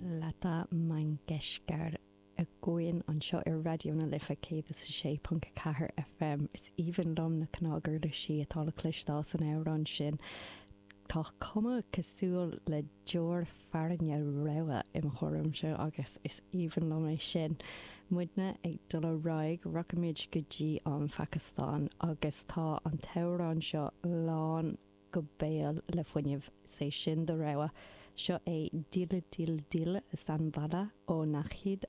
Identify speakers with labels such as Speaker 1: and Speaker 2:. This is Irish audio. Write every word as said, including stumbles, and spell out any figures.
Speaker 1: Lata Mangeshkar againn anseo ar Raidió na Life céad is a sé ponc a ceathair FM. Is aoibhinn liom na cnaguirlisí atá le cloisteáil san amhrán sin. Tá cuma cosúil le deoir fearthainne rua i mo thuairimse agus is aoibhinn liom é sin. Muidne ag dul ar aghaidh rachaimid go dtí an Phacastáin agus tá an t-amhrán seo lán go béal le fuinneamh sé sin do rogha. Seo é Dil Dil Dil Sanvala ó Naheed